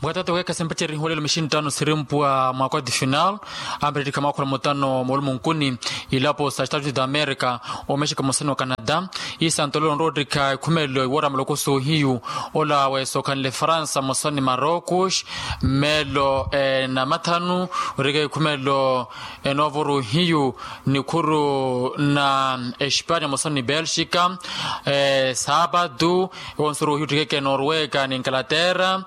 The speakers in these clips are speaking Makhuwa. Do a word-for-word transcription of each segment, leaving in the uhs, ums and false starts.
Mukatati weekha simpacerihiwa lelo mixinttano sirimpuwa mwa kwati final, amperettikha mwakhula mutano moolumunkuni, ilapo sa estados da america, omexika mosani wa canada. Isantolelo onrowa ottikha ikhumelo iwoora malokoso hiyu, ola weesokhanle fransa mosani marocos, mmelo enamathanu, ottikha ikhumelo enoovoro hiyu, nikhuru na espania mosani belxika, saapatu, ewonsoru ohiyu ottikeke norweka ni nkalaterra.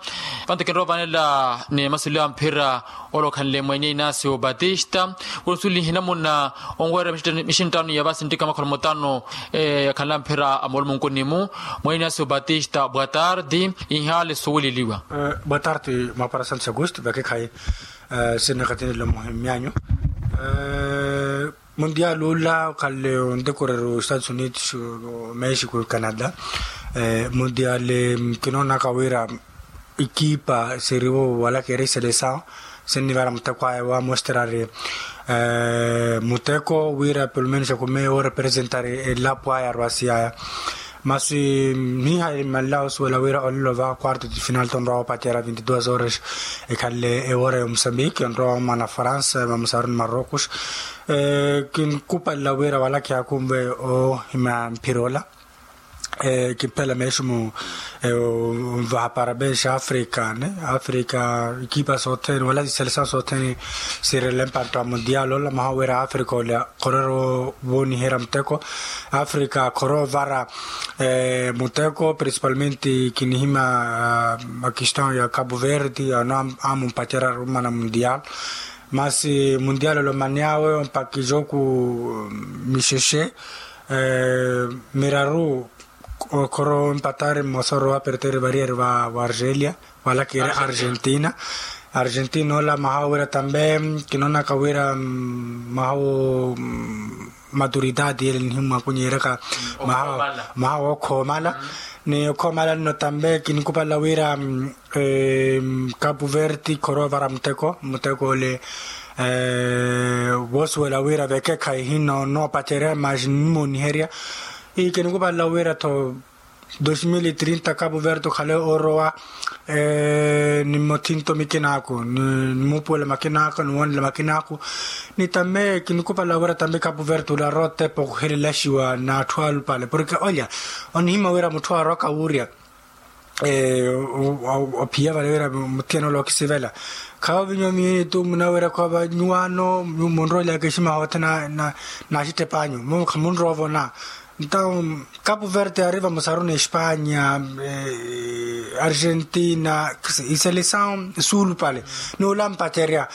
Vanto kinrowa vanela ni masuliwa mphira, olokhanle mwenya inasio batista, wonsulihi namuna onweera mixinttano ya vasinttika makhola mutano, yakhanla mphira a moolumunkuni-mu. Mwenya inasio batista bwa tardi, inhaale suweleliwa. Bwa tardi mwaparasantsi agusti vakekhayi. Sinnakatinelo muhimyanyu. Mundial ula okhanle ontekoreru estados unidos, mexico canada. Mundial, kinoonaka wira ikipa siriwo walakeri selesaw, sinnivara muteko aya wamosterari muteko wira pelumenus akume orepresentari elapo aya arwasiyaya. Masi nihayi mmanlawo osuwela wira olelo va quarto de final tonrowa opacerya vinti duas horas, ekhanle ewora ya omusambiki onrowa omana fransa mamusaruni marocos. Kinkupalela wira wala kihakunve ohimya mphira ola. Kimphela meximu. Vahapara bexa africa ne africa, ikipa sothene wala siselesaw sothene, sirele mpantta wa mundial ola maha wira africa ola khorero wooniherya muteko. Africa khoro vara muteko principalmente kinihimya makiston ya capu verde ano amumpacerya arumana mundial. Masi mundial olomanyawe ompakhi joku mixexe miraru, okhoro mpatari mmosa orowa perteri variyari va argelia, walakiri argentina. Argentina ola mahawo wira tambe kinoonaka wira mahawo maturidadi ele nihimwakunyeryaka. Mahawo okhoomala ni okhoomala nno tambe kinikupala wira capu verti khoroovara muteko muteko ole. Woosuwela wira vekekhayi hino noopacerya masi nimooniherya. Ii kinikupala wira tho dos mil e trinta capu verti okhale orowa ni mothinto mikinaaku ni muupuwela makinaaku ni woonela makinaaku. Ni tambe kinikupala wira tambe capu verti ole arowa otepa ohuhelelaxiwa n'atthu alupale porke olya onihimya wira mutthu arowa kawurya ophiya vale wira muthiyana ole okisivela. Khawo vinyo miyeni tu munawira khova nyuwaano munroolya kexima hoothe naaxittepanyu mumu khamunroovona. Ntawo capu verde ari vamusaruni espanya, argentina, iselesaw suulupale n'ulampacerya.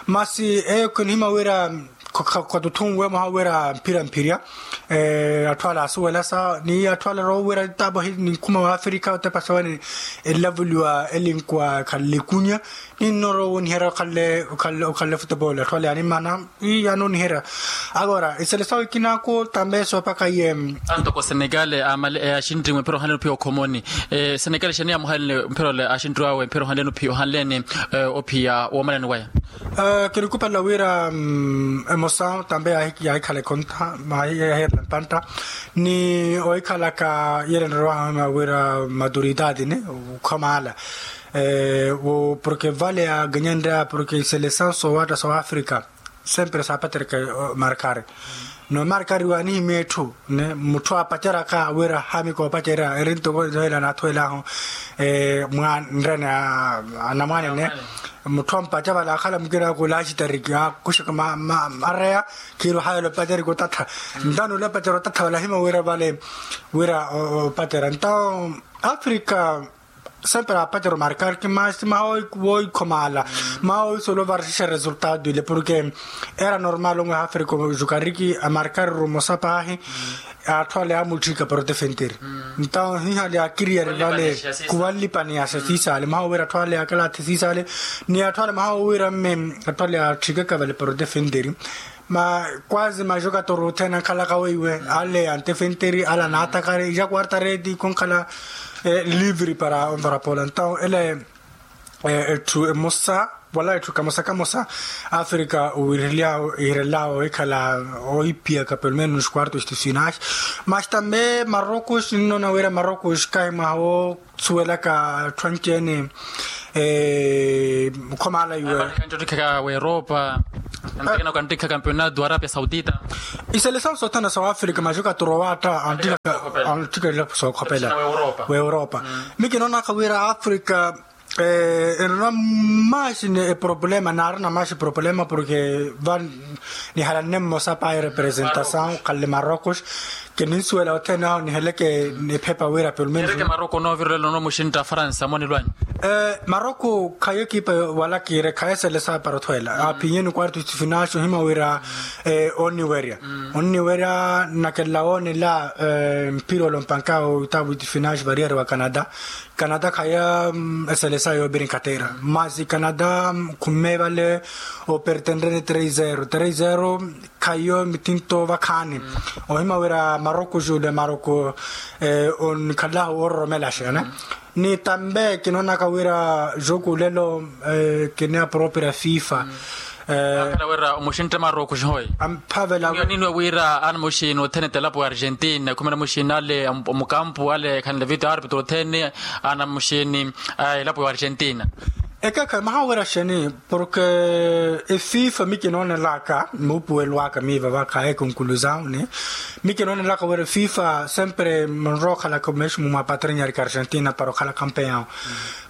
Masi eyo kinihimya wira khatuthunwe mwaha wira mphira mphirya. Atthu ale asuwelasa ni atthu ale rowa wira tapo ahi ninkhuma wa afrika otepa sawe ni elavuliwa elinkuwa ekhanle ikunya. Ninno rowa woniherya okhanle okhanle futebol atthu ale animana. Ii anooniherya. Agora iselesaw ikinaku tambe soopaka iye. Antoko senegale amale axinriwe mphira ohanleni ophiya okhomoni. Senegale xani yamuhanleni mphira ole axinriwawe mphira ohanleni ophiya ohanleni ophiya woomalani waya. Kinikupala wira emosa tambe yaahikhala ekhonta yaahirela mpantta ni ohikhalaka yele nrowa wira maturidadi ne okhomala. Porke vale aganyanreya porke selesaw soowatta soowa afrika sempre saapacereke markari. Noomarkari waanihimya etthu ne mutthu aapaceraka wira haami koopacerya eri ntoko ela naathuwel'ahu mwa nrene anamwane ne mutthu ampaca vale akhala mukina akula axitariki akuxaka areya. Khiiru haya ole opacerya kotatha ntawo ole opacerya otatha vale ahimya wira vale wira opacerya ntawo afrika. Sempre apacerya omarkar ki masi maha wooikhomaala maha wooisola ovarisixa resultado ile porke era normal onwe hafrika ojukariki amarkar rumosa paahi. Atthu ale amutthika para otefenteri ntawo hihale akiriyari vale kuvanlipaniyasa siisale maha wira atthu ale akalathi siisale ni atthu ale maha wira mme atthu ale atthikaka vale para otefenteri. Ma kwazi majoka toro othene ankhalaka weiwe ale antefenteri ale anaatakari ijakuarta redi konkhala livre para onvara pola ntawo ele. Etthu emosa wala etthu kamosa kamosa afrika owirelyawo ikhala oipiyaka pelumenus quartos de finais. Mas tambe marocos ninnoona wira marocos kahi mwaha woosuwelaka atthu anci-ene Khomala iwe. Kantikhaka wa europa. Kantikhaka kantikhaka kampeonato arapia saudita. Iselesawu sothana sa wafrika majuka turowatta antikhaka antikhaka sokhopela. Wa europa. Mikinoonaka wira afrika. Enona maxi ni eproblema naarina maxi problema porke va nihalanne mmosa pa erepresentasawu khalle marocos. Kininsuwela othene aho niheleke ephepa wira pelumenreke maroko noovirela onomuxintta a faransa monilwanyu. Maroko khayo ekipa wala kiire khayo eselesa para othweela aphinyeni quarto de finale ohima wira onniwerya onniwerya. Nakela woonela mpira olompanka oitabu de finale variyari wa canada. Canada khayo eselesa yoobiri nkatteera masi canada khumme vale opertenrene três zero três zero. Khayo mitinto vakhaani ohima wira maroko jule maroko onkhallahu ororomelaxe ni tambe kinoonaka wira joku lelo kini apropria fifa. Akhala wira omuxintte maroko xihoi amphavela. Niniwe wira anamuxini othene telapo ya argentina khumene muxini ale omukampu ale khanle vito arbitro othene anamuxini a elapo ya argentina. Ekekha maha wira xeni porke efifa mikinoonelaka muupuwelo aka miiva vakha ekonkulusawuni. Mikinoonelaka wira efifa sempre munrookhalaka omeximu mwa patrinyari ka argentina para okhala kampeyawu.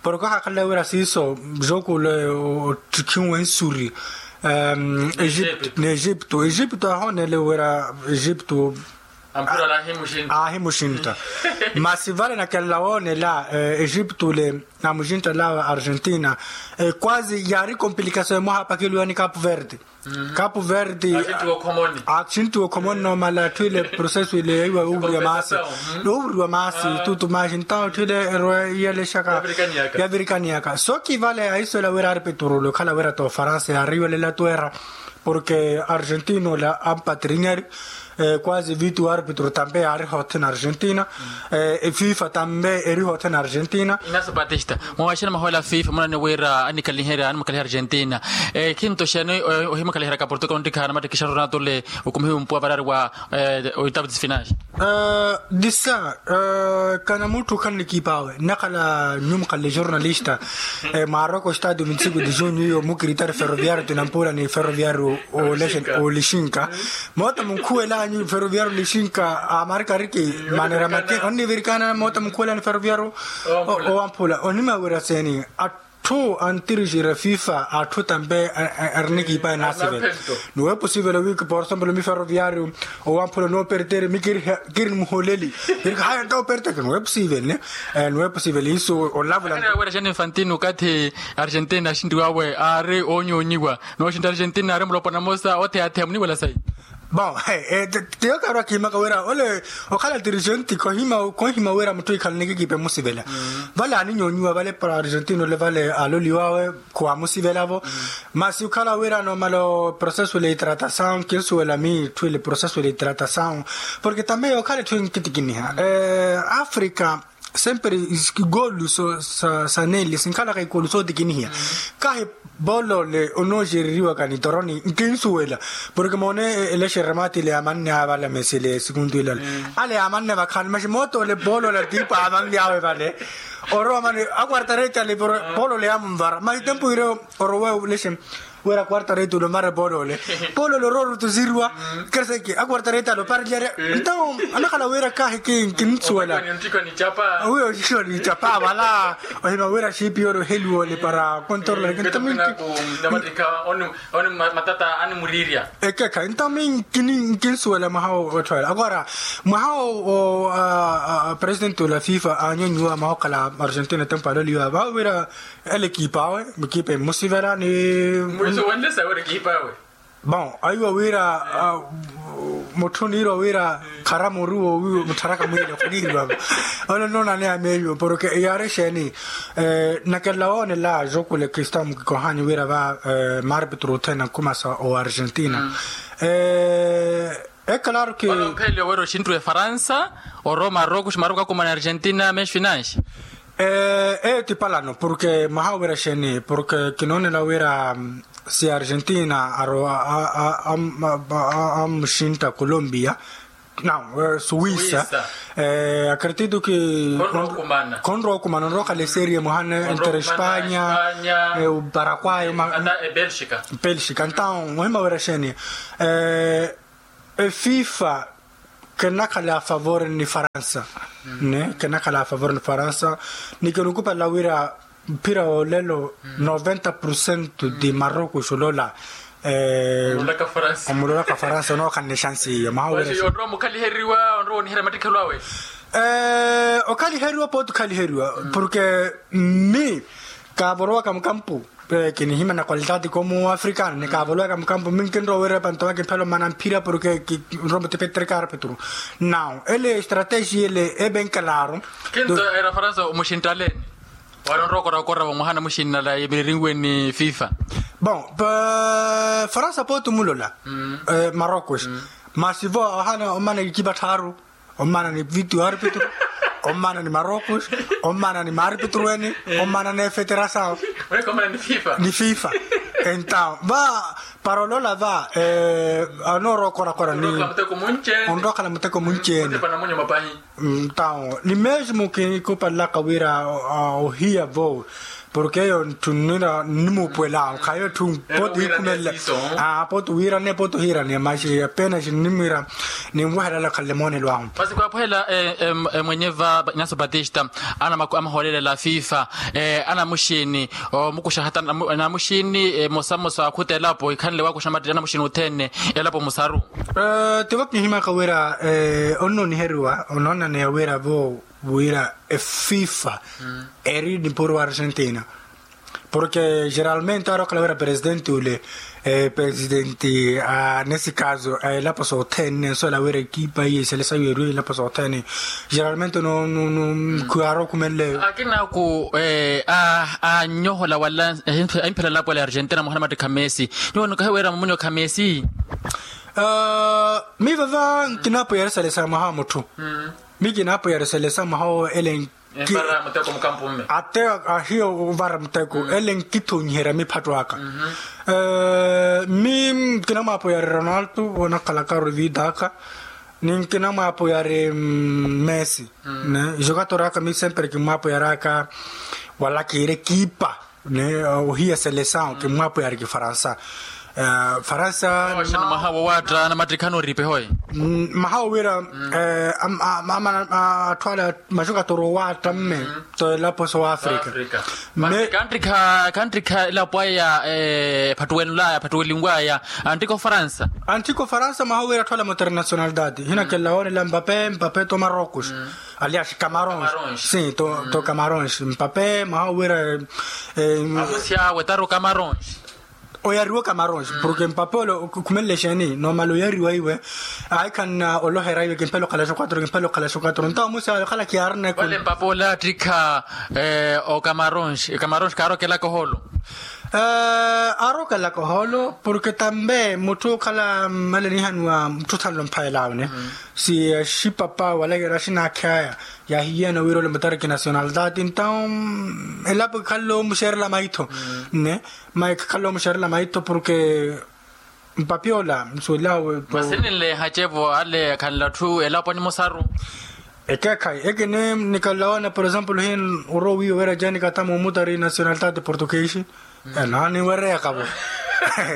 Porke ohakhalela wira siiso joku le ottikhiwe nsuri. Egipto egipto ahoonele wira egipto aahimuxintta. Masi vale nakelela woonela egipto le namuxintta lawa argentina. Kwazi yaari complicasion emoha apakiluwani capu verde. Capu verde axintiwa okhomoni noomala atthu ile processo ile yaiwa yoovuriwa maasi. Noovuriwa maasi tutu maasi ntawo atthu ile erwa iyalexaka yavirikaniyaka so kivale ahiswela wira ari petrolo okhala wira ta ofaransa yaari iwalela twera. Porke argentina ola ampatrinyari kwazi vitu arbitro tambe yaari hothene argentina. Efifa tambe eri hothene argentina. Inaso patista mwawaxena mahola fifa munani wira anikaliherya animukaliha argentina. Khinto xene ohimukaliheryaka portugal ontikhaana mattikixaru natole okumihiwe mpuwa varari wa oitabu de finale. Disa kana mutthu okhala nikiipa awe nnakhala nyuwo mukhalle jornalista. Mwaaroko stadium ntsiku de junio iyo mukritari ferroviario tinampula ni ferroviario olixinka. Moota munkhuwelanyu ferroviario olixinka amarikariki manera mati onnivirikana moota munkhuwelanyu ferroviario owamphula onimawira seni. Atthu antirixira fifa atthu tampe arinikiipa enasivela. Niweepo sivela wiki por example mi ferroviario owamphula noopertere mi kiri muholeli. Kiri haya ntawo perteke niweepo sivela ne. Niweepo sivela isu olavula. Wira xani infantino okathi argentina axintiwawe aari oonyonyiwa nooxinta argentina aari mulopwana mosa otheyatheya muniwela sayi. Bon, tiyo kaarwa kiimaka wira ole okhala dirigenti khonhima wira mutthu ikhala nikikipe musivela. Vale aninyonyiwa vale para argentino ole vale aloliwawe khuwamusivela-vo. Masi okhala wira nomala oprocesso le itratasawu kinsuwela miitthu ile processo le itratasawu. Porke tambe okhala etthu enkitikiniha africa sempre ikolu sa neli sinkhalaka ikolu sootikinihiya. Kahi bolole onooxereriwaka nitoroni nkinsuwela. Porke moone elexeremati ile yaamanne avala mesele sikuntu ilala ale yaamanne vakhaani maxi moota ole bolole atiipo aamanly'awe vale. Orowa mani akwartareti ale bolole yaamunvara maxi tempu ireyo orowa olexe. Wira quarta reti ule omara epoolole. Epoolole orowa orutuziriwa. Kereseke a quarta reti ale oparelyaarya. Ntawo anakhala wira kahi kinsuwela. Wiyo xixiwa niicapa vala. Ohima wira xiipi yoole oheliwa ole para contorla. Ekekha ntawo mi nkinsuwela mwaha otthoela agora mwaha o presidenti ole a fifa anyonyiwa mwaha okhala argentina tempo aloliwa vawira. Ele ekipa awe ekipa emusivela ni mwiso wenle sawe ore ekipa awe. Bon aiwa wira mutthu niirwa wira khara muru wo wiwo muttharaka mwile khuniirwa. Ono nonaneya meyo porke yaari exeeni? Nakelela woonela joku le kristamu kikohanyu wira va maarpitru othene ankhumasa o argentina. Ekalaru ki mphelele owera oxintthu efaransa oro maroko ximaroko akumana argentina mexico inanxi. Eyo ti palano porke mwaha owira xeeni porke kinoonela wira si argentina aro amuxintta colombia. Não, suwisa. Akritito ki khonrowa okumana onrowa okhala eserie muhana entre espanya, paraguay, belxika. Então ohima wira xeeni, efifa kinakhala a favor ni faransa. Kinakhala a favor ni faransa. Ni kinukupalela wira mphira wa olelo noventa por cento di marocos olola. Omulolaka faransa onookhala ni chansi iyo maha onrowa omukhaliheriwa onrowa oniherya mattikhelo awe. Okhaliheriwa pooti okhaliheriwa porque mi kaavorowaka mukampu. Kinihimya na qualidade como africano ni kaavorowaka mukampu mi nkinrowa wira epanto waka mphelo mana mphira porque kinrowa mutipetrika arpetro. Não ele estratégia ele ebenkelaaru. Kinto era faransa omuxinttaleeni wari onrowa okorakorava mwaha namuxinnala yemiririnwe ni fifa. Bon, faransa pooti omulola marocos. Masi vo ohana omana ekipa tthaaru, omana ni vitiyo arpetro, omana ni marocos, omana ni maarpetro ene, omana ni efeterasawo ni fifa. Entawo va para olola va anoorowa okorakora ni onrowa okhala muteko munci ene. Então ni mesmo kinikupalelaka wira ohiya vo porque eyo ntthunira nnimuupuwela khayo etthu pooti wiikhumelela. Pooti wiirane pooti ohiirane maxi apenas nnimwira ninweherela okhalela moonelo ahu. Masi khwaapuhela mwenye va inaso batista ana amahoolelela fifa anamuxiini omukuxa hata namuxiini emosamosa akhutela apo ikhanle waakuxa mattiri anamuxiini othene elapo musaru. Tivo kinihimyaka wira onnooniheriwa onoonaniya wira vo wira efifa eri nipuro wa argentina. Porque geralmente aari okhala wira presidenti ule presidenti nesse caso elapo sothene nensuwela wira ekipa iye iselesayo eriwe elapo sothene. Geralmente no no no khuyaarowa okhumenleyo. Akinaku anyohola wala ahimphelela elapo ela ya argentina muhana mattikha messi. Nyuwo nikahiweera mumunyo kha messi. Mi vava nkinaapoyari selesayo mwaha wa mutthu. Mi kinaapoyari selesayo mwaha wo ele ate ahiyo ovara muteko ele nkithonyiherya miphatto aka. Mi nkinamwaapoyari ronaldo onakhalaka ruvida aka ni nkinamwaapoyari messi. Jokator aka mi sempre kinmwaapoyari aka wala kiire kiipa. Ohiya selesaw kinmwaapoyari kifaransa. Faransa. Mwaha wowaatta anamattikha anooriipe hoye. Maha wowira atthu ale majokator owaatta mme to elapo so wa afrika. Khantikha elapo aya ephattuwelulaya ephattuwelinwaya. Antikha ofaransa. Antikha ofaransa maha wowira atthu ale maternationalidade hina kella woonela mpape mpape to marocos. Alias camarons. Sim to camarons mpape maha wira. Amusi awe tari ocamarons. Oyariwa ocamarons porque mpape ole okhumenle exeeni nomala oyariwa iwe. Ayi khanna olohera iwe kimphela okhala xo quatro kimphela okhala xo quatro ntawo musi awe okhala kiyaarina ekhu. Wale mpape ole attikha ocamarons camarons kaarokelaka oholo. Aarokelaka oholo porque tambe mutthu okhala mmale nihaniwa mutthu othanle omphayela awe ne. Si axipapa wala kira axinaakhi aya yaahiyana wira ole mutariki nationalidade entawo elapo kikhalle omuxerela maitho. Ne mayi kikhalle omuxerela maitho porque mpapi ola nsuwelawe. Masi ninleehacevo ale khanle atthu elapo animosaru. Ekeekhayi ekini nikalawana por exemplo hin orowiwe wira jani katama omutari nationalidade portuguese. Nooniwereyakavo.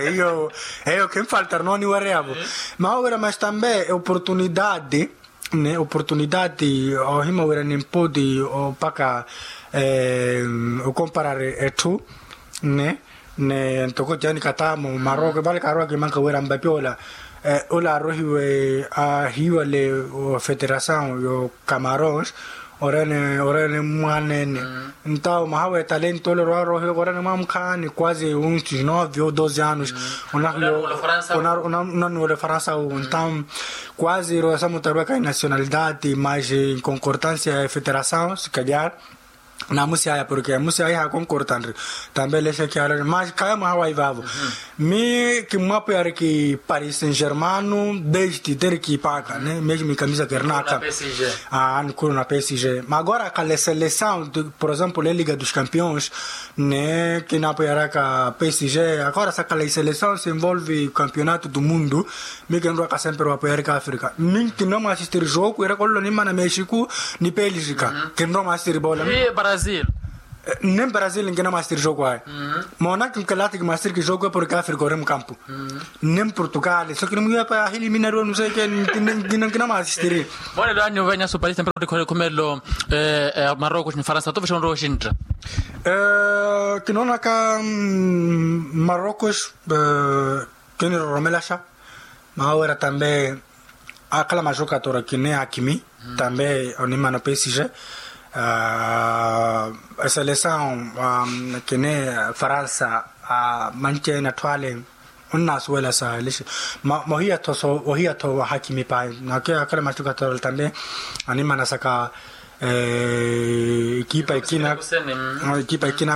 Eyo eyo khinfaltari nooniwereyavo. Maha wira mas tambe eoportunidade ne oportunidade ohima wira nimpoti opaka okomparari etthu ne ne ntoko jani katamo maroko vale kaarowa kimanka wira mpapi ola ola arohiwe ahiiwale ofeterasaw yo camarons. Orene orene mwaneene ntawo mwaha w'etalento ole orwarohiwaka orene mwa mukhaani quase uns nove ou doze anos. Onahiyo onaniwela ofaransa wu ntawo quase rosa mutaruwaka inationalidade mas inconcordancia ya efeterasaw se calhar. Namusi aya porke musi aya hakonkortanri. Tambe lexe kiyaloni mas kaya mwaha wa ivaavo. Mi kimmwapo yari ki paris saint germano, desti teri kipaaka ne mesmo ikamisa kernaka. Anikuru na psg. Magora kale seleção, por exemplo e liga dos campeões, ne kinapo yaraka psg. Agora sa kale seleção se envolve campeonato do mundo. Mi kinrwaka sempre wapo yarika afrika mi kinrwa mwasistiri joku iraka ololo nimana mexico, ni pélgica. Kinrwa mwasistiri bola. Brazil. Nen brazil nkina mwasitiri joku ayo. Mona kinkelati kimwasitiri kijoku porke afrika ori mukampu. Nen portugal so kini mwiwepa ahili minari wenu seke. Nkina mwasitiri. Monelo anyu venya supalista mpira oti khole khumelo. Marocos ni faransa tuvesha onrowa oshintta. Kinonaka marocos. Kiniroromelaxa. Maawera tambe akhala majokatora kine akimi. Tambe onimano psg. Eselesaw kine faransa. Manci ene atthu ale onnasuwela sa elixe. Mohiyatho ohiyatho wahakimi pahi nake akhala majokatora tambe animana saka. Ekipa ikina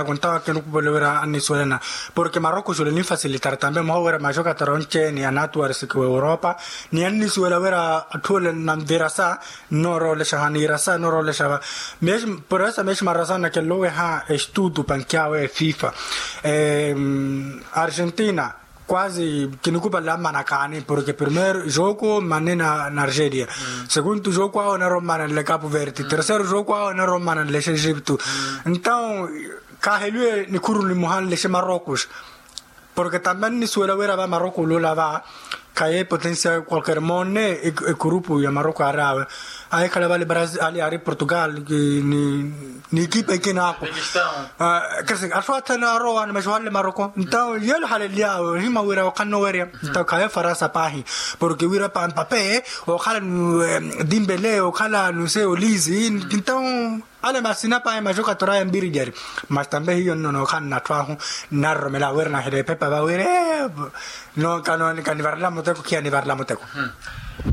ako ntawa kinukupolewerya annisuwelana. Porke maroko xule ninfasilitar tambe moha werya majokatora onceeni anatuwarisiki wa europa. Ni annisuwela werya atthu ole nanvirasa nnooroolexaha niirasa nnooroolexava. Poresa meeximarasa nakelloweha estutu pankyawe fifa. Argentina kwasi kinikupala mmana kaani porke primero joku mmane na argeria. Segundu joku awo naro mmana nle capu verde tercero joku awo naro mmana nlexe egipto. Ntao kaheliwe nikhuru nimoha nlexe marocos. Porke tambe nnisuwela wira va marocos olula va khaye potensia qualquer monne. Ekurupu ya marocos ari awe. Ahikhala vale ali ari portugal. Ni ekipa ikina ako. Atthu athene arowa animaxi ohale maroko ntawo yelo halelyawe ohima wira okhanna owerya. Ntawo khaye faransa pahi porke wira pampape okhala dimbele okhala nuse olizi. Ntawo ale masina pahi maxokatora aye mbiri jari. Mas tambe hiyo nnono okhanna atthu ahu naroromela wira nahela epepa vawire. No kanivarela muteko khiya nivarela muteko.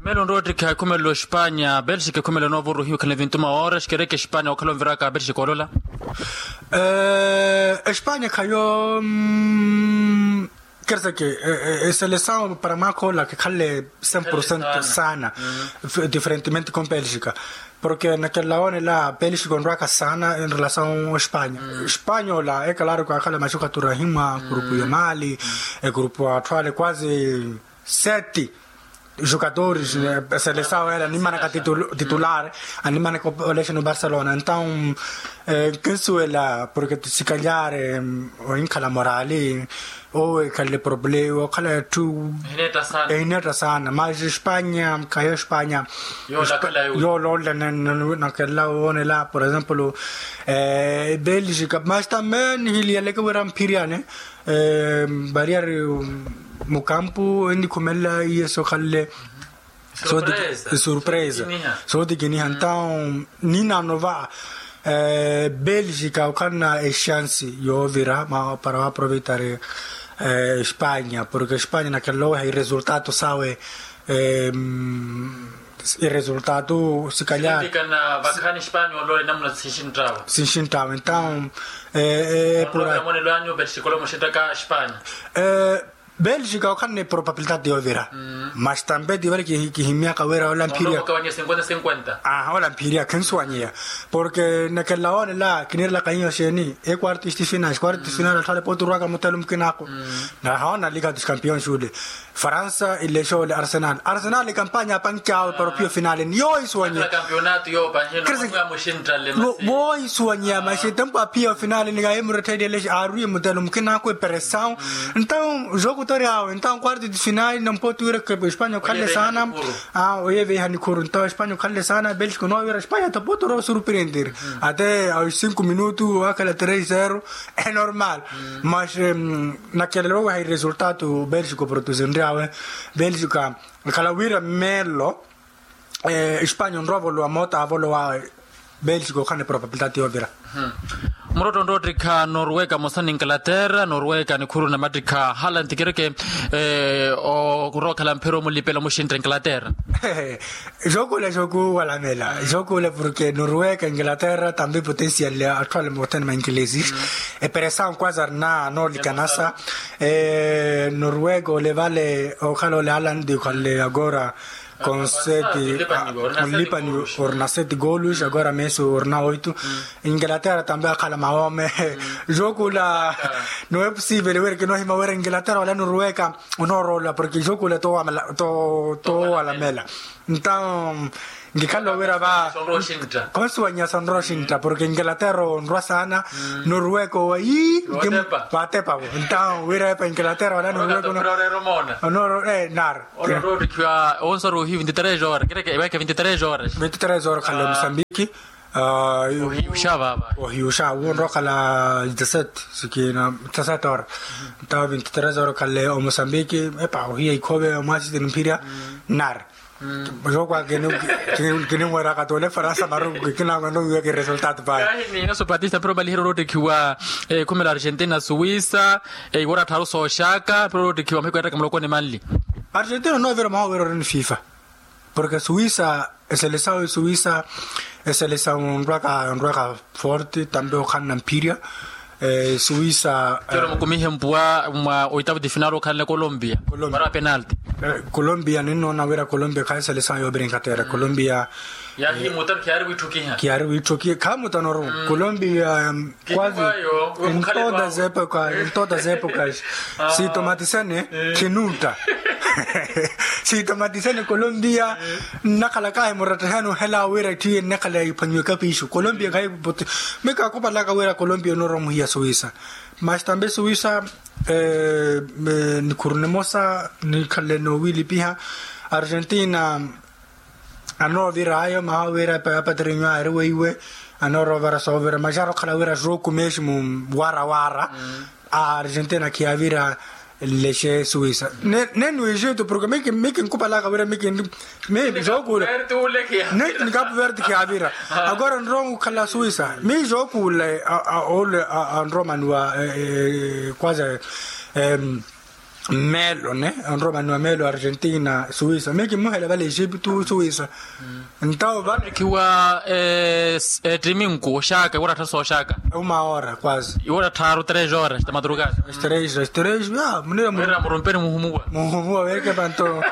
Melo nrowa ottikha ekhumelelo espanya belxika ekhumelelo noovoro ohiwa ekhala evintuma ora exikereke espanya okhala onviraka belxika olola. Espanya khayo kerseke eselesaw para mwaakha ola kikhalle cem porcento sana. Diferentemente com belxika porke nakelela woonela belxika onrwaka sana enrelasaw espanya. Espanya ola ekalaari kwakhala maxukatura himwa kurupu ya mali ekurupu atthu ale kwasi sete jogadores. Selesaw ele animanaka titular animanaka olexe no barcelona entaw kinsuwela porke sikalyare ohinkhala morali. Owo ekhalle problema okhala atthu ehineetta sana mas espanya khayo espanya. Yoololela nakelela woonela por exemplo belgica mas tambe nihiliyaleke wira mphiriyane variyari mukampu enikhumelela iye sokhalle. Surpresa sotikiniha ntawo ninano va belgica okhanna exansi yoovira para waproveitari espanya porke espanya nakelela oweha iresultato sawe. Iresultato sikalyari sinxinttawe ntawo epura belgica okhanne probabilidade yoovira. Mas tambe tivale kihimyaka wira ola mphiriya. Ola mphiriya khinsuwanyiya porke nakelela woonela kinirelaka hiyo xeeni equarto isti final quarto isti final atthu ale poturwaka mutelo mukina ako. Nahoona liga dos campeões ule faransa ilexe ole arsenal arsenal ikampanya apankyawe para ophiya ofinale ni yoohisuwanyiya. Woohisuwanyiya maxi tempo aphiya ofinale ni kaye murettheliye lexe aarwiye mutelo mukina ako eperesaw. Ntawo jokutori awe ntawo quarto de final nampotu wira espanya okhalle sana. Oye veiha nikhuru ntawo espanya okhalle sana belgica onoowira espanya topotoro surprender ate awe cinco minuto wakhala tres zero. Enormal mas nakelela oweha iresultato belgica oprodusinryawe belgica. Nkhala wira mmelo espanya onrowa ovolowa moota avolowa belgica okhana eprobabilidade yoovira. Murotto nroottikha norweka mosa ni inglaterra norweka nikhuru namattikha hala ntikireke. Orookhala mphira omulipela omuxintta inglaterra. Jookula jookuwalamela jookuwula porke norweka inglaterra tambi potensial atthu ale mothene ma ingilesi. Eperesawu kwaza arina anoolikanasa. Norweka ole vale okhala ole alandi okhalle agora. Konseti olipani orina seti goolus agora mesu orina oitu. Inglaterra tambi akhala maome. Jookula. Nowe pusivele wira kinohima wira inglaterra wala norweka. Onooroola porke jookula toowalamela. Ntawu nkikhala owira va konsuwanyasa onrowa oxintta porke inglaterra onrwa saana. Norweka owa ii. Vaatepavo ntawu wira epa inglaterra wala norweka. Onooroola naaru. Onrowa ottikhiwa onsaru ohiyu vinti tres horas kereke eweeke vinti tres horas. Vinti tres horas khale musambiki. Ohiwuxa wu onrowa okhala dix-sept sikina dix-sept horas. Ntawo vinti tres horas okhale omosambiki epa ohiya ikhove omwasiti nimphirya. Nar. Jokwa kini kinimweraka tole faransa maru. Kinangweno wiweke resultado payi. Inaso patista pero valiherya orottekhiwa ekhumela argentina suwisa. Iwora tharu sooxaka pero orottekhiwa mahiku yattaka muloko ni manli. Argentina onoovira mwaha owira oreni fifa. Porke suwisa eselesawu esuwisa eselesawu onrwaka onrwaka forte tambi okhanna mphirya. Suwisa. Mukumihe mpuwa mwa oitavu ti final okhanle colombia. Para penalti. Colombia ninnoona wira colombia khayi eselesawu yoovira inglaterra colombia. Yahi mutano khiyaari wiitthukiha khiyaari wiitthukiha khaamutano ru. Colombia. Kwazi. Em todas as épocas em todas as épocas. Siitomatisene. Khinuntta. Siitomatisene colombia. Nnakhalakahi murattahani ohela wira itthu iye nnakhala iphwanyiwe kapiixu colombia khayi. Mika akupalaka wira colombia onoorowa omuhiya suwisa. Mas tambe suwisa. Nikhuru nimosa nikhalle noowilipiha. Argentina. Anoovira ayo maha wira apatrinyo aari weiwe. Anoorova soovira maxara okhala wira jooku meximu. Wara wara. A argentina khiyavira lexe suwisa. Neni o egito porke miki miki nkupalaka wira miki. Mi jookuula. Neni ni kapu verde khiyavira. Agora nrowa okhala suwisa mi jookuula. Ole anrowa omaniwa. Kwaza. Melo ne onromani wa melo argentina suwisa mi kimmuhela vale egipto suwisa. Ntawo vale. Khiwa ettiminku oxaka iwora tharu sooxaka. Uma hora quase. Iwora tharu tres horas ta madrugada. Tres tres ya munira murumpeni muhumuwa. Muhumuwa weke panto.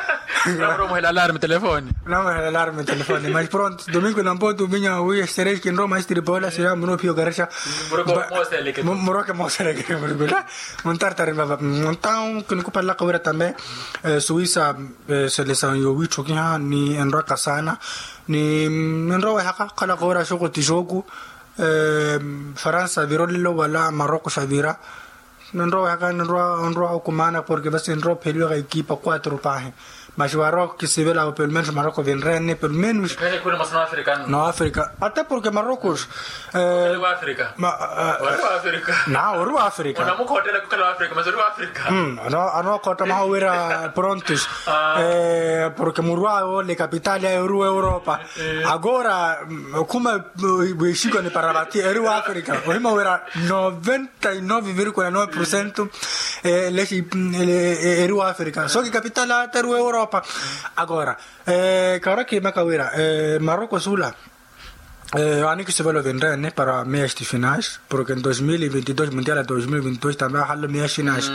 Muhela alarme telefoni. Muhela alarme telefoni mas pronto domingo nampoto minya wi estrela kinroma estripola sira muno pio garexa. Muroke moseleke. Muntartari vava. Ntawu kinikupalaka wira tambe suwisa. Selesawu yowiitthukiha ni enrwaka saana. Ni enrowehaka okhalaka wira xoko ti xooku. Faransa vira olelo wala maroko xavira. Nenrowehaka nenrwa onrwa okumaana porke vasi enrwa opheliwaka ekipa quatro pahi. Mas waro kisivela pelo menos maroko vinrene pelo menos. Noafrika ate porke maroko. Na ori wa afrika. Anookhotta maha wira prontos. Porke murwa ole kapitali ayo ori wa europa. Agora okhuma wixikoni para vati eri wa afrika ohima wira noventa e nove virgula nove porcento. Lexi eri wa afrika so kikapitali ata eri wa europa. Agora kara kimaka wira maroko sula. Anikisivela ovinrene para meya estifinais porke dos mil e vinte dos mundial dos mil e vinte dos tambe ahallo meya xinas.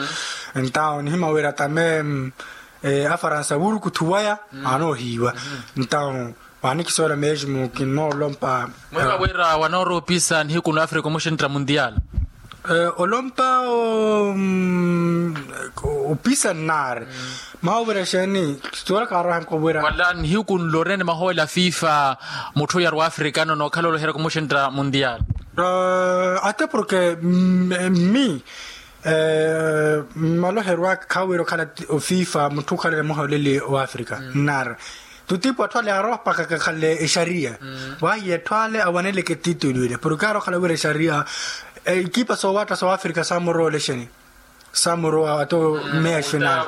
Entawo nihima wira tambe afaransa wurukuthu waya anoohiiwa. Entawo wanikisoola mesmo kinoolompa. Mweka wira wanooroopisa nihiku n'afrika omuxintta mundial. Olompa opisa nnaari. Maha ovira exeeni. Siwala kaarohenka ovira wala nihiku nlorene maha ola fifa. Mutthu oyari w'afrika nono okhala oloherya kumuxintta mundial. Ate porke mmi mmaloheryo aka khaawira okhala ofifa mutthu okhalele mwaha oleli w'afrika nnaari. Tutipu atthu ale aroopaka kakhalle exariya. Wahiya atthu ale awaneleke titulu ile porke arookhala wira exariya. Ekipa soowatta sa wafrika saamuroola exeni. Samurowa ato meya xinal.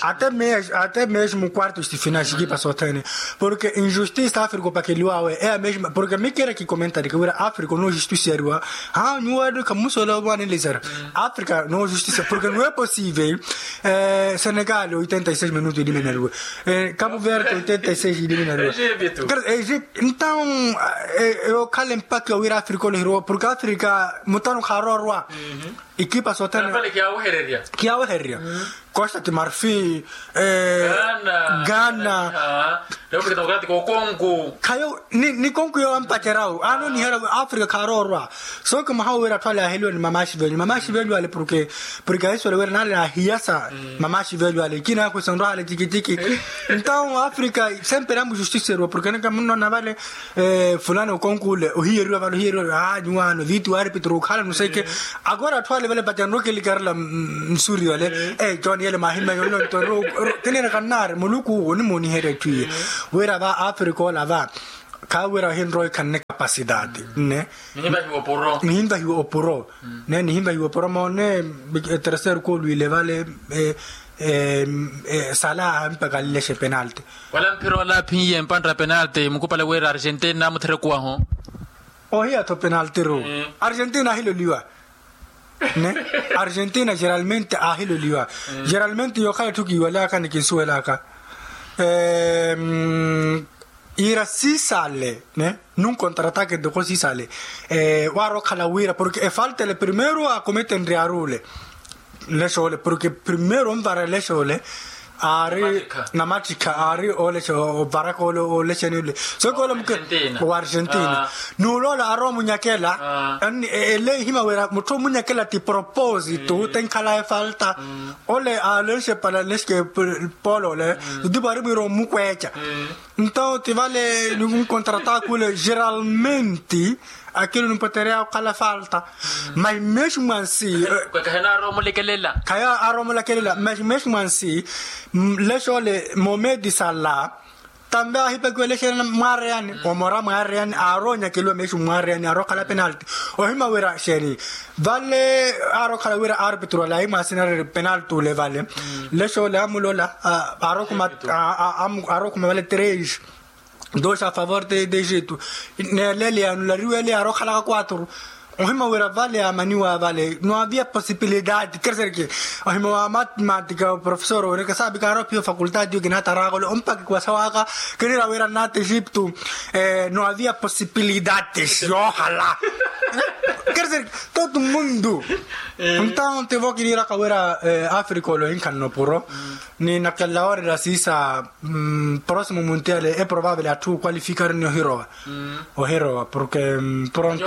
Ato meya xinal. Ato meya xinal mu quarto xitifinal xikipa sothene. Porke injustisa afrika opakeliwawe eya meya xinal porke mi kera kikomentarike wira afrika onojustisiyariwa. Ha nyuwari kamusola omwanelesera afrika nojustisiyariwa porke nuwe posivel. Senegal oitenta y seis minutu eliminariwe. Kapu verde oitenta y seis eliminariwe. Egipto. Ntawu okhala empaki owira afrika oleheriwa porke afrika mutano kharoorwa. Ikipa sothene kiyawehererya. Kiyawehererya. Costa de marfil. Ghana. Khayo ni konku yo ampacerawu anonihera afrika kharoorwa. So kimuhawa wira atthu ale aheliwa ni mamaxi velyu mamaxi velyu ale porke porke aiswele wira nale ahiyasa. Mamaxi velyu ale ikina akhwisenrwa ale cikiciki. Ntawu afrika sempre amuxustiseriwa porke neke munnona vale fulani okonkule ohiyeriwa vale ohiyeriwa vale nyuwaano vitu arpitro okhala nuseke. Agora atthu ale vale pacanroke likarela nsuri vale. John yele mahimmenya olonto. Tinireka nnari muluku onimuniherya etthu iye wira va afrika ola va khaawira ohinrowa ikhanne capacidade nne. Nihinvahiwa opuro nne nihinvahiwa opuro moone. Eterceiro kolwile vale sala ahampakalile xe penalti. Wala mphira ola aphiye mpanra penalti mukupale wira argentina mutherekuwaho. Ohiya-tho penalti ru argentina ahiloliwa. Nne argentina geralmente ahiloliwa. Geralmente yookhala etthu kiiwalaka ni kinsuwelaka iira sisale nunkontratake ntoko sisale. Waari okhala wira porke efalta ele primeiro akometenryaru ole. Lexoole porke primeiro onvara lexoole aari namattikha aari oolexa ovaraka ole olexeni ole. Sooke ole muke wa argentina n'ule ole aari omunyakela. Ele ihima wira mutthu omunyakela ti propósito tenkhala efalta. Ole alexe pala lexike polo ole tutipo aari mwiira omukweeca. Nto ti vale nikontrataka ole geralmente akilo nipotereya okhala falta. Mas mesmo ansi khayo aari omulakelela mas mesmo ansi lexoole momedi sala tambe ahipakiwa lexeene mwaareyani omora mwaareyani aari onyakeliwa mesmo mwaareyani aari okhala penalti. Ohima wira xeeni vale aari okhala wira arpitro ale ahimwasinareri penalti ole vale lexoole amulola aari okhuma vale tres dos a favor de egito. Neelele yanulariwele yaari okhalaka quatro. Ohima wira vale yaamaniwa vale no havia possibilidade kerserke ohima wa matematika professor oneke saapika aari ophiya ofakultade yo kinataraka ole ompaki kwasawaka. Kinira wira nata egipto no havia possibilidades yoohala. Kerserke todo mundo. Ntawo ntivo kiniraka wira afrika ole ohinkhanna opuro ni nakelela woorera siisa. Próximo muntiale e probable atthu oqualificar ni ohirowa ohirowa porke pronto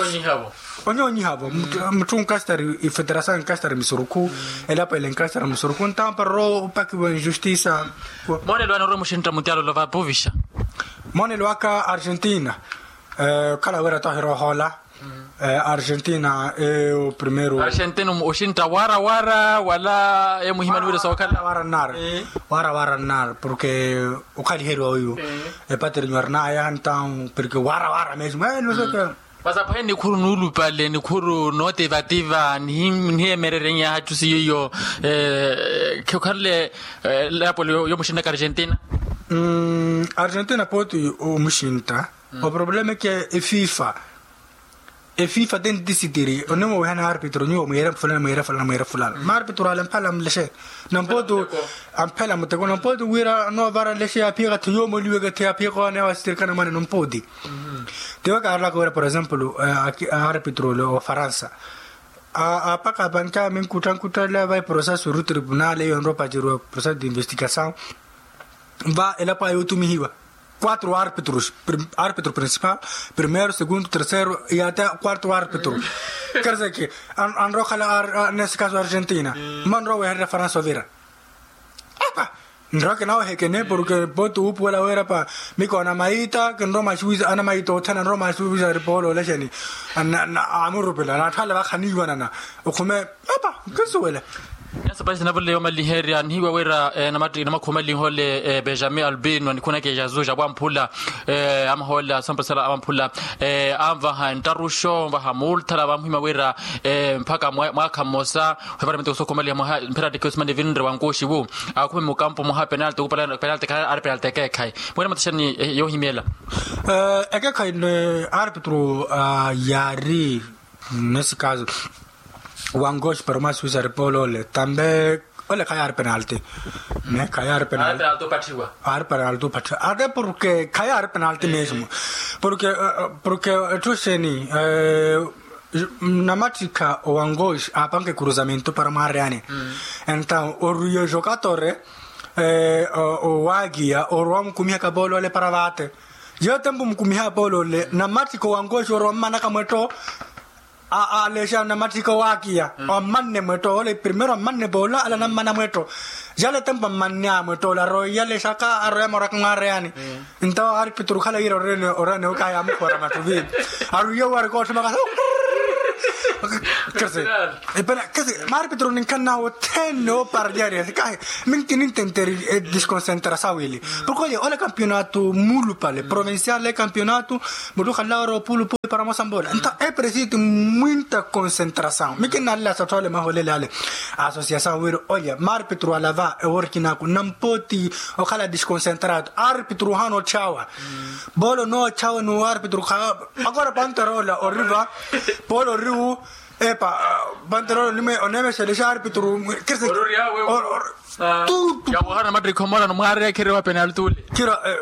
onyonyihavo mutthu nkastari ifederasaw nkastari misurukhu elapo ele nkastari misurukhu ntamparoro opakiwa injustisa. Moonelo anarowa muxintta muntiale olova povixa. Moonelo aka argentina okhala wira tohirowa ohoola. Argentina eyo primeiro argentina oxintta wara wara wala emuhimani wira sookhala wara nar wara wara nar porke okhaliheriwa oyu. Epateri nwarnaya ntawo porke wara wara mesmo. Vasa pwahe nikhuru nuulupale nikhuru nootivativa nihiyemererye nyaha ttusi yiyo. Khekhanle lapo yomuxinaka argentina. Argentina pooti omuxintta. Oproblema eke efifa efifa te ntisitiri onimowihana arpitro nyuwo mwiira fulana mwiira fulana mwiira fulana maarpitro ale amphela mulexe. Nampooti amphela muteko nampooti wira noovara lexe yaaphiyaka tho yoomoliweke tho yaaphiyaka oneewa sitirikana mwane nampooti. Tiwo kaarelaka wira por exemplo arpitro ole ofaransa aapaka apanke aminkuttankutta ale vai processo ru tribunal eyo enrowa opaceriwa processo de investigasaw. Va elapo aya otumihiwa quatro arpitros arpitro principal primeiro segundo terceiro e até quarto arpitro. Kerseke anrowa okhala nesse caso argentina manrowa wehererya faransa ovira. Apa nrowa kinawehekene porke pooti wuupuwela wira pa mikoona maita kinrowa maxuwisa ana maita othene anrowa maxuwisa ripolo olexeni. Amurupila naatthale vakhaniiwanana okhume apa kinsuwela. Nyasapahi sinavole yoomaliherya nihiwa wira namattiki namakhumalinhole benjamin albino anikhuneke jazuja wamphula. Amahoolela asampasala awamphula anvaha nttaruxo anvaha muulthala vamuhima wira mpakha mwaakha mmosa ohivara miteko sookhumaliha mwaha mpheratikiwe simani vinre wankuxiwu. Akhume mukampu mwaha penalti penalti khayi ari penalti ekeekhayi. Mwene mataxani yoohimyela. Ekeekhayi ni arpitru yaari nesse caso wangoxi para uma suisa repolole tambe. Ole khayaari penalti ne khayaari penalti. Ari penalti opattiwa. Ari penalti opattiwa ate porke khayaari penalti mesmo. Porke porke etthu xeni namattikha owangoxi aapanke cruzamento para mwaareyani. Entaw oruye jokatore owaakiya orwa omukumihaka polole para vaate. Yo tempo mukumiha polole namattikha owangoxi orwa ommanaka mwetto. Alexa namatthika owaakiya wammanne mwetto ole primero ammanne poola ale anammana mwetto. Yale tempo ammanne a mwetto ole aroiya alexaka aroiya moraka mwaareyani. Nto arpitru okhala yira orene orene okahi amukhoora mattuvi aroiya owari kootthimaka. Kasi maarpitru ninkhannaha othene oparyarya sikahi minki nintenteri edisconcentrasaw ili. Porke ole ole campeonato muulupale provincial le campeonato. Muttu okhala ori opulupuli para mosambola nta epresiti mwinta concentrasaw mikinnalila sottha ole maholele ale. Asosiasaw wira olya marpitru alava eworkinaaku nampooti. Okhala disconcentrado arpitru ohaana otthawa. Boolo nootthawa ni warpitru kha akora pantarola oriva. Boolo oriwu epa pantarola onimwe oneemexelexa arpitru. Kirsi. Yawohana mattikha omorano mwaareya khirwa penalti ule.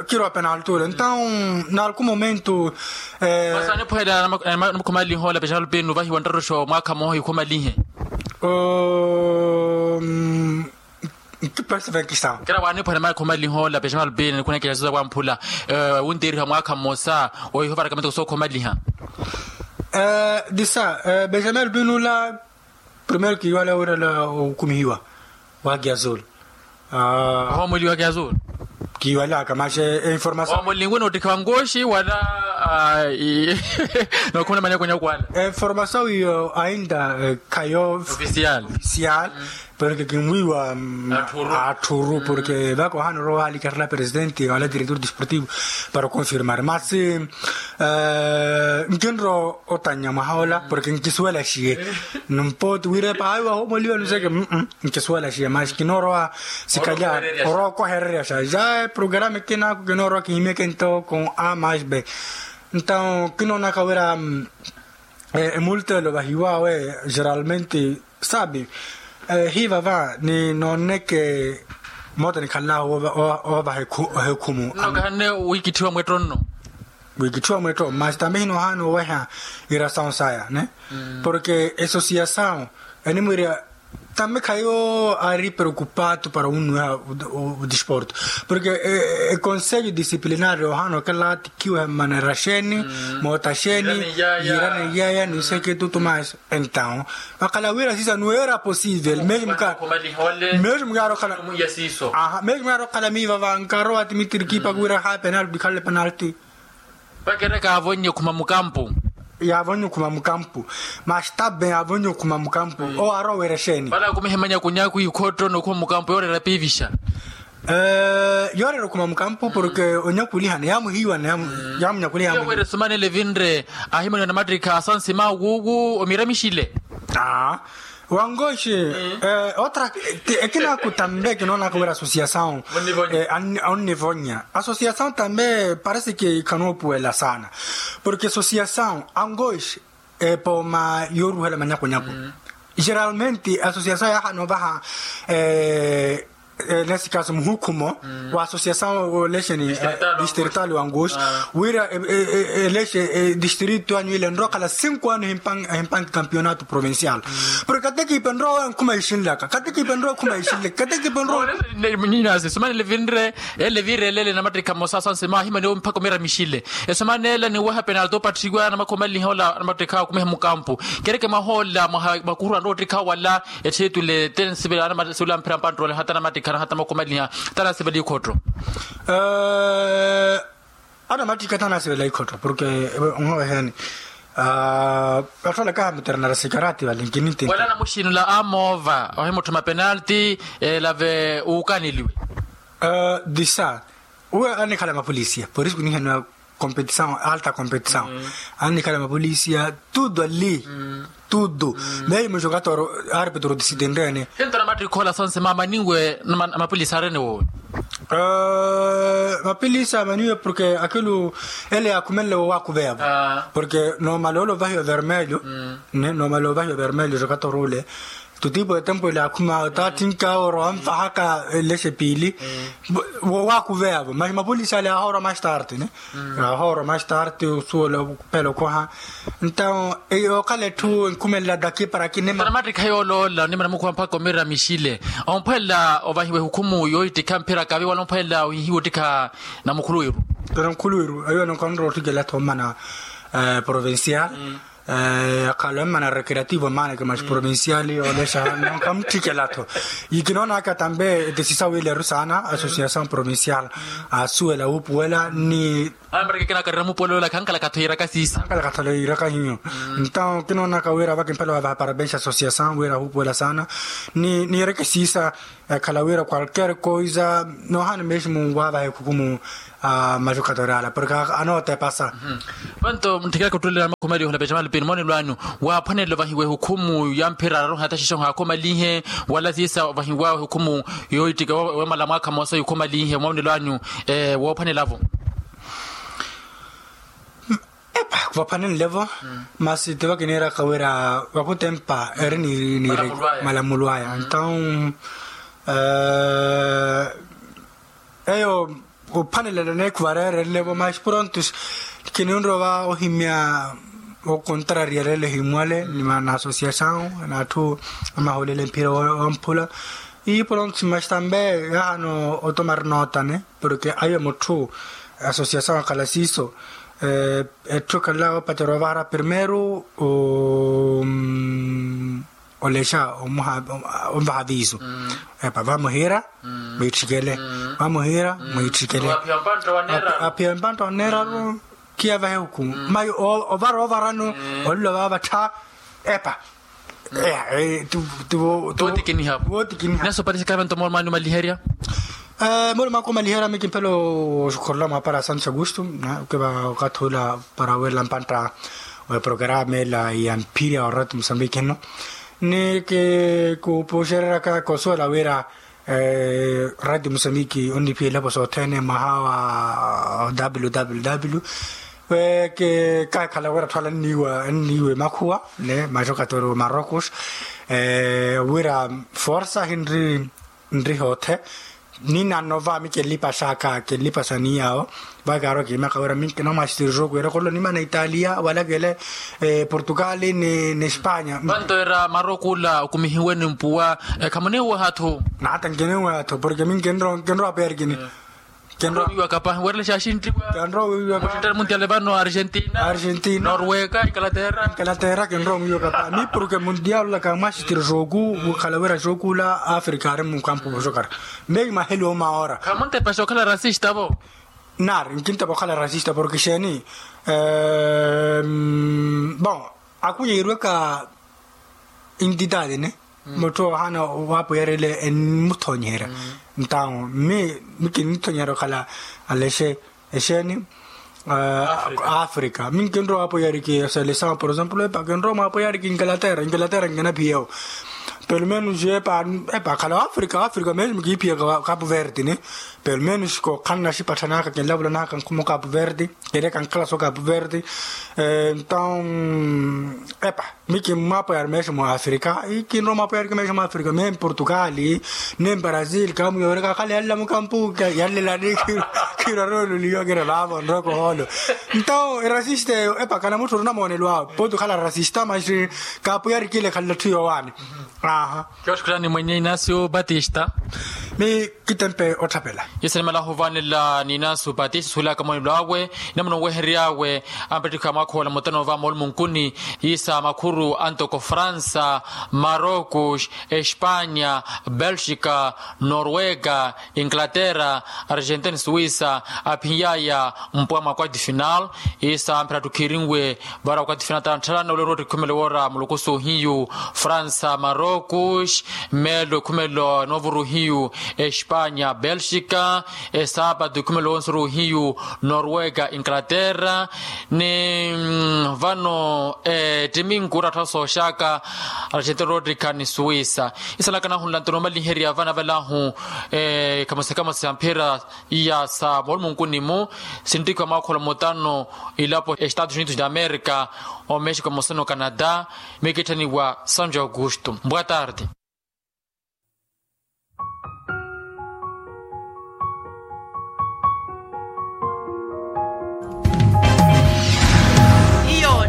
Khirwa penalti ule ntawu n'alku momento. Masi aniphwela namakhumalinha ola pexalupini nuvahiwa nttaruxo mwaakha mmoha ikhumalihe. Nkipaxi venkisa. Kira waaniphwela namakhumalinha ola pexalupini nikhuneke exasusa wamphula wunteeriha mwaakha mmosa ohihovaraka miteko sookhumaliha. Disa benjamin alupini ula. Primero kiiwale wira la okumihiwa wa kiazulu. Ohoomweliwa kiazulu. Kiiwalaka maxi informasaw ohoomwelinwe noottikha wankoxi wala. Nookhumela manyakunyaku wala. Informasaw iyo ainda khayo ofisial. Porke kinwiiwa atthuru porke vaka ohaana orowa ohaalikarela presidente wala diretor desportivo para oconfirmar masi. Nkinrowa otannya mwaha ola porke nkisuwelaxiye. Numpooti wira epa ayo wahoomoliwa nuseke. Nkisuwelaxiye masi kinoorowa sikalya orowa okohereryaxa ja eprograma ekinaku kinoorowa kihimyeke nto com a mas b. Nto kinoonaka wira emultelo vahiwawe geralmente sabi hivava ninooneke moota nikhallahu. Ovaha ehekhumu nno kahanne wiikitthiwa mwetto nno. Wiikitthiwa mwetto masi tambe hinohaana oweha irasawu saya ne. Porke esosiyasawu enimwiira tambe khayo ari preocupado para wunnuweha. Odesporto porke econselho disciplinario ohaana okela tikhiweha mmanera xeeni moota xeeni yiirane iyaya ni nseketi otumaxi. Entaw vakhala wira sisa nuweera posivel mesmo kaaro okhala. Mesmo kaaro okhala miiva vankarowa ti mitirikipaka wira ha penalti khalale penalti. Vakireka yaavonnye okhuma mukampu. Yaavonnye okhuma mukampu. Maxi tabe yaavonnye okhuma mukampu owo aarowa wira exeeni. Vale akumihe manyakunyaku ikhotto n'okhuma mukampu yooreera piivixa. Yooreera okhuma mukampu porke onyakulihana yaamuhiiwana yaamunyakuliha. Wira esumanele evinre ahimaniwa namattikha asansima wuwu omiramixile. Wangoxi otra. Ekinaku tambe kinoonaka wira asosiyasawu onnivonya asosiyasawu tambe parece ke khanoopuwela saana. Porke asosiyasawu angoxi epooma yooruhela manyakunyaku. Geralmente asosiyasawu yaahana ovaha nesse caso muhukhumo wa asosiyasawu lexeni distrital wanguxi wira elexe distrito anyu ile nrowa okhala cinco ano ehimpanki campeonato provincial. Porke katekipe nrowa nkhuma ixinlaka katekipe nrowa nkhuma ixinlaka katekipe nrowa. Nyinasi esumanela evinre ele viirelele namattikha mmosa asansima ahimaniwe mpakha omiramixile. Esumanela niweha penalti opatthiwa namakhumalinha ola namattikha akumihe mukampu. Kereke mwaha ola mwakuhurwa nrowa ottikha wala etthitule te nsivela anamasiwela mphira mpantroole hata namattikhana hata makhumaliha. Tana sivela ikhotto. Anamattikha tana sivela ikhotto porke onhoweheni Atthu alakaha maternera sikarati vale nkinintini. Wala namuxinula amoova ohimutthuma penalti. Elave uukaneliwe. Disa uwe anikhala mapolisia por isu kunihaniwa competição alta competição. Anikhala mapolisia tudo ali tudo. Meyi muxokatoro arpetro disitinrene. Hentona mattikhola sonse maamaniwe. Mapolisa arene wowe. Mapilisa amaniwe porke akhilu ele yaakhumenle wowaakuveyavo. Porke noomala ole ovahiwa vermelho. Noomala ovahiwa vermelho jokatorule tutipo etempo ele yaakhuma otaattinka oro anvahaka. Lexe piili wowaakuveyavo mas mapilisa ale yaahoora mastarte ne. Yaahoora mastarte osuwela. Pelo koha. Ntao yookhala etthu enkhumelela daki para kinema. Mattikha yooloola onimana mukhuwa mpakha omira mixile. Omphwelela ovahiwa ehukhumu yoottikha mphira kavi wala omphwelela ohihiwa ottikha namukhuluwiru. Namukhuluwiru ayo anonkhanura ottikela tho mmana provincial. Akhala emmana recreativo mmaaneke mas provincial yoolexa nonkhamuttikela tho. Ikinoonaka tambe etesisa wiileru saana associação provincial asuwela wuupuwela ni. Amareke kinakarira mupuwelo yola khankalakatho yiiraka siisa. Khankalakatho yiiraka hiyo. Ntawo kinoonaka wira vakimphela wavaha parabens associação wira ahupuwela saana ni niireke siisa. Ekhala wira qualquer coisa noohana meximu wavaha ekhukumu. Majukatori ala porke anootepasa. Vanto ntthikela khuttulelana makhumalihula pecamali pini moonelo anyu waaphwanela ovahiwa ehukhumu ya mphira araru hata xixo haakhumalihe wala siisa ovahiwa ehukhumu yoittika wemala mwaakha moosa yukhumalihe moonelo anyu. Woophwanelavo. Epa vaphanenlevo. Masi tivo kiniiraka wira vakutempa eri ni malamulwaya ntawu eyo ophanelelo neekhuva reerelevo mas prontos. Kininrova ohimya okontrariya lelo himwale ni mana associação na atthu amaholela emphira wamphula. Ii prontos mas tambe yahano otomar nootane porke ayo mutthu associação akhala siiso. Etthu ekhalela opatera ovahara primeiro olexa onvaha aviso. Epa vamuhiira mwiitthikele. Vamuhiira mwiitthikele. Aphiya mpantta oneeraru khiyavahe hukumu mas ovara ovarano olilo vavattha. Epa. Wootikiniha. Wootikiniha. Naso parisika vanto moolo mwaani omaliherya. Moolo mwaaka omaliherya mi kimphela oxukhorola mwaapara santos augusto. Kiva okathi ula para weerela mpantta wa eprograma ela ya mphirya wa radio mosambiki eno ni kikupuxereryaka kosuwela wira radio mosambiki onniphiyela evo sothene mwaha wa www. Kaakhala wira thwala nniiwa nniiwa emakhuwa ne majokatori wa marocos wira forsa hinri nri hoothe. Ninanova mi kenlipaxaka kenlipaxa ni yaawo. Vakaaro kiimaka wira mi nkina mwasitiri joku wira kholo nimana italia wala kele portugal ni espanya. Vanto era maroko ula okumihiwe ni mpuwa. Khamuniwehatho. Nata nkiniwehatho porke mi nkinrowa aperkini. Kenrowa wiiwa kapa werele xaxintiwa. Kenrowa wiiwa kapa. Muntiale vano argentina. Argentina norwega ingalaterra. Ingalaterra kenrowa wiiwa kapa mi porke muntiale ula kamwasitiri joku wukhala wira joku ula africa ari mukampu vojokara. Meyi maheli omaora. Khamuntepa xokhala racista vo. Nari nkintepa okhala racista porke xeeni. Bon akunyeiruweka intitati ne mutthu ohana waapwiyarya ile enmuthonyeherya. Ntawo mi mi kinnithonyeherya okhala alexe exeeni. Africa mi nkinrowa waapwiyarya ki seleção por exemplo epa kinrowa mwaapwiyarya ki ingalaterra ingalaterra nkinaphiyewo. Pelo menos epa epa akhala africa africa mesmo kiiphiyaka capo verde ni pelo menos kokhanna xipatthanaka kinlavulanaka nkhumo capo verde. Kele kankhala so capo verde. Ntawo epa mi kimmwaapweyari mesmo africa. Kinrowa mwaapweyari ki mesmo africa me mportugal ne mbrazil kamuyooreka akhale yalla mukampu yallelani. Kiraroololiwa kira vaavo nrooko hoolo. Ntawo erasista eyo epa kana mutthu ori namoonelo awe poti okhala rasista mas kaapweyari kile khallatthu yoowaani. Aha. Kioxikhuttani mwenye inasio batista. Mi kitempe otthapela. Isa nimalahu ovaanela n'inasu pati sisuhulaka moonelo awe. Inamuna onwehery'awe ampettikha mwaakhola mutano va moolumunkuni. Isa makhuru antoko fransa, marocos, espanya, belxika, norwega, inglaterra, argentina, suwisa, aphiny'aya mpwa mwa kwati final. Isa amphira atthu khiirinwe vara wakati fina tanthalana olero oti khumelo wora muluku suhiyu, fransa, marocos, melo khumelo novuru hiyu, espanya, belxika, esapatu khumelo wonsuru hiyu, norwega, inglaterra, ni vano ettiminku orattha sooxaka, argentina rotikha ni suwisa. Isalaka nahunla nto noomaliherya vana valahu, khamosekhamose ya mphira iya sa moolumunkuni-mu, sinttikhiwa mwaakhola mutano, ilapo estados unidos de america, o mexico moseno canada, mikitthaniwa sanjo augusto. Boa tarde.